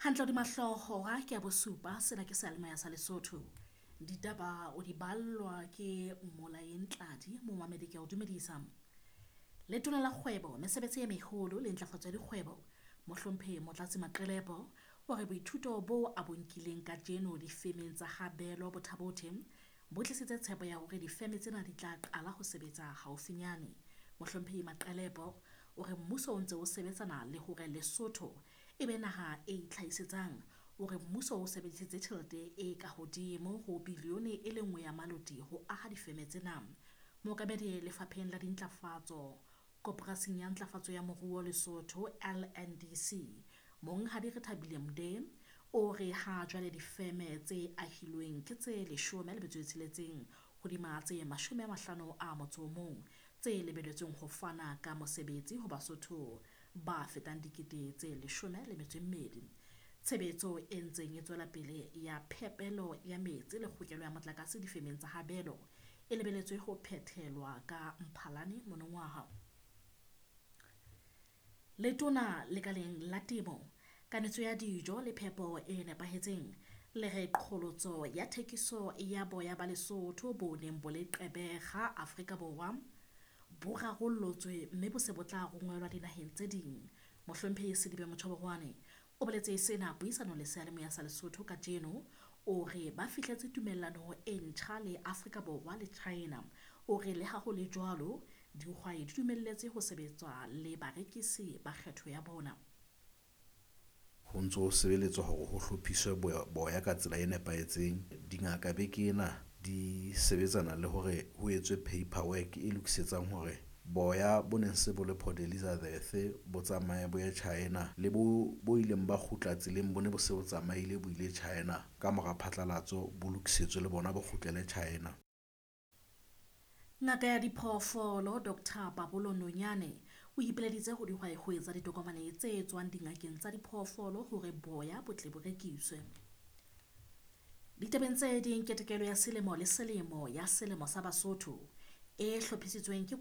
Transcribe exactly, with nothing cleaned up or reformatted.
Hantle hodima hlooho hora ke ya bosupa, sena ke seyalemoya sa Lesotho. Ditaba o di ballwa ke Molaeng Tladi, momamedi ke a o dumedisa. Letona la Kgwebo, Mesebetsi e Meholo le Ntlafatso ya Dikgwebo, Mohlomphehi Motlatsi Maqelepo o re boithuto bo a bo nkileng kajeno difemeng tsa ha Belo Bothabothe bo tlisitse tshepo ya hore difeme tsena di tla qala ho sebetsa haufinyane. Mohlomphehi Maqelepo o re mmuso o ntse o sebetsana le hore Lesotho e be naha e itlhahisetsang. O re mmuso o sebedisitse tjhelete e ka hodimo ho bilione e le nngwe ya maloti ho aha difeme tsena. Mookamedi lefapheng la dintlafatso Koporasing ya Ntlafatso ya Moruo Lesotho L N D C, Monghadi Rethabile Mde o re ha jwale difeme tse ahilweng ke tse leshome le metso e tsheletseng hodima tse mashome a mahlano a motso o mong tse lebelletsweng ho fana ka mosebetsi ho Basotho ba fetang dikete tse leshome le metso e mmedi. Tshebetso e ntseng e tswela pele ya phepelo ya metsi le kgokelo ya motlakase difemeng tsa Habelo e lebelletswe ho phethelwa ka Mphalane monongwaha. Letona lekaleng la temo, kanetso ya dijo le phepo e nepahetseng le re qholotso ya thekiso ya boya ba Lesotho bo neng bo le Gqeberha Afrika Borwa bo rarollotswe mme bo se bo tla rongwelwa dinaheng tse ding. Mohlomphehi Sedibe Motjhoborwane o boletse sena puisanong le seyalemoya sa Lesotho kajeno. O re ba fihletse tumellano e ntjha le Afrika Borwa le China. O re le ha ho le jwalo, dihwai di dumelletswe ho sebetsa le barekisi ba kgetho ya bona. Ho ntso ho sebeletswa hore ho hlophiswe boya, boya ka tsela e nepahetseng. Dingaka beke ena di sebetsana le hore ho etswe paperwork e lokisetsang hore boya bo neng se bo le Port Elizabeth bo tsamaye bo ye China, le bo bo ileng ba kgutla tseleng bo ne bo se bo tsamaile bo ile China ka mora phatlalatso bo lokisetswe le bona bo kgutlele China. Ngaka ya diphoofolo Doctor Pabolo Nonyane o ipileditse ho dihwai ho etsa ditokomane tse tswang dingakeng tsa diphoofolo hore boya bo tle bo rekiswe. Ditabeng tse ding, ketekelo ya selemo le selemo ya selemo sa Basotho e hlophisitsweng ke